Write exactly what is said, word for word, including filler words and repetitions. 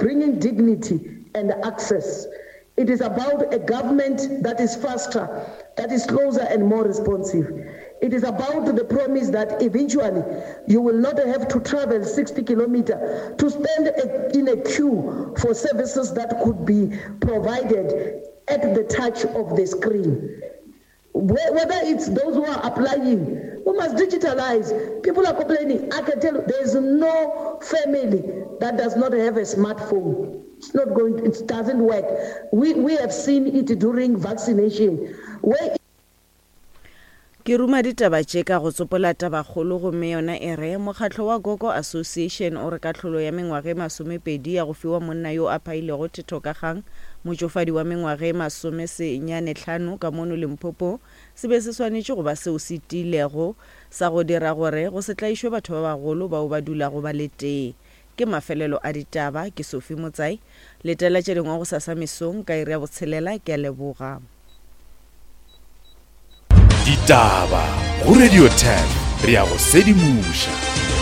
bringing dignity and access. It is about a government that is faster, that is closer and more responsive. It is about the promise that eventually you will not have to travel sixty kilometers to stand in a queue for services that could be provided at the touch of the screen. Whether it's those who are applying, we must digitalize. People are complaining. I can tell you, there is no family that does not have a smartphone. It's not going, it doesn't work. We, we have seen it during vaccination. Where Ke ruma ditaba tše ka go tsopola tabakgolo gomme yona e re, Mokgatlo wa Gogo Association o re kahlolo ya mengwaga e masomepedi ya go fiwa monna yo a phailego thetho ka kgang motšofadi wa mengwaga e masomesenyane hlano ka mono Limpopo se be se swanetše go ba seo se tiilego sa go dira gore go se tlaišwe batho ba bagolo bao ba dulago ba le tee. Ke mafelelo a ditaba. Ke Sophie Motsai. Letela tše dingwe gosasa mesong ka iri ya botshelela. Ke a leboga. Ditaba go Radio ten re ya go sedimoša.